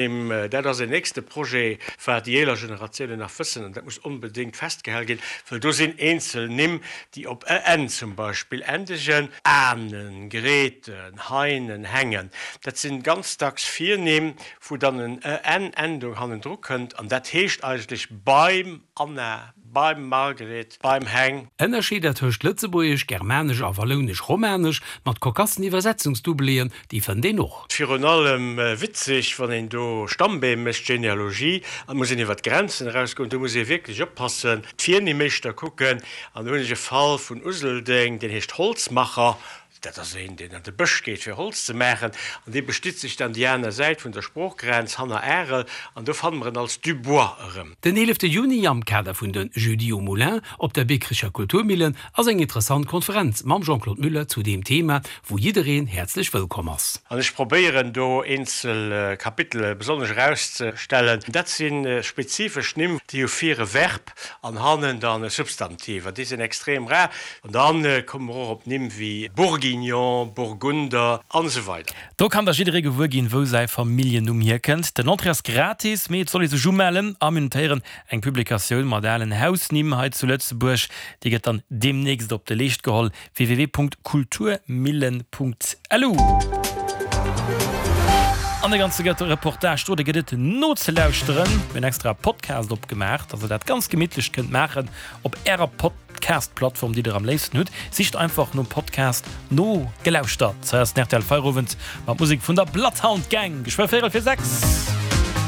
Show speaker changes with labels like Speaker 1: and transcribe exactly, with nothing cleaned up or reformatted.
Speaker 1: Dat ass en nächste Projet, wat déi eeler Generatiounen nach wëssen, an dat muss onbedéngt festgehal ginn, well do sinn eenzel Nimm, déi op en zum Beispill endegen, Ahnen, Greten, Heinen, Hengen. Dat sinn ganz dacks Virnimm, wou dann en en-Endung hannendru kënnt, an dat heescht eigentlech beim Anna, beim Margret, beim Heng.
Speaker 2: Ënnerscheeder tëscht Lëtzebuergesch, Germanesch a Wallounesch-Romanesch, mat kokassen Iwwersetzungsdoubleeën, déi fënnt een och.
Speaker 1: Virun allem witzeg, wann een do Stammbeem mécht, Genealogie, an et muss een iwwer d'Grenzen erausgoen, do muss ee wierklech oppassen, d'Virnimm éischter kucken. An do hunn ech e Fall vun Useldeng, deen heescht Holzmacher. Dat ass een, deen an de Bësch geet, fir Holz ze maachen, an dee bestit sech dann déi aner Säit vun der Sproochgrenz, hanner Arel, an do fanne mer en als Dubois erëm.
Speaker 2: Den eelefte Juni am Kader vun de Jeudis au Moulin op der Biekerecher Kulturmillen ass eng interessant Konferenz mam Jean-Claude Muller zu deem Thema, wou jiddereen häerzlech wëllkomm ass.
Speaker 1: An ech probéieren do eenzel Kapitele besonnesch erauszestellen. Dat si spezifesch Nimm, déi hu vir e Verb an hannen dann e Substantiv, an déi sinn extrem rar. An da komme mer och op Nimm wéi Bourguignon, Burgunder an esou weider.
Speaker 3: Do kann da jidderee gewuer ginn, wou säi Familljennumm hierkënnt. Den Entrée ass gratis, mee et soll ee sech umellen a minutéieren. Eng Publikatioun mat alen Hausnimm hei zu Lëtzebuerg, déi gëtt dann deemnächst op de Leescht geholl, www.kulturmillen.lu. An de ganze Reportage do, dee gëtt et nozelauschteren. Mir hunn extra e Podcast opgemaach, dass der dat ganz gemittlech kënnt maachen op ärer Podcast-Plattform, déi der am léifsten hutt. Sicht einfach nom Podcast Nogelauschtert. Hei ass den rtl Feierowend mat Musek vun der Bloodhound Gang. Geschwë véierel vir sechs.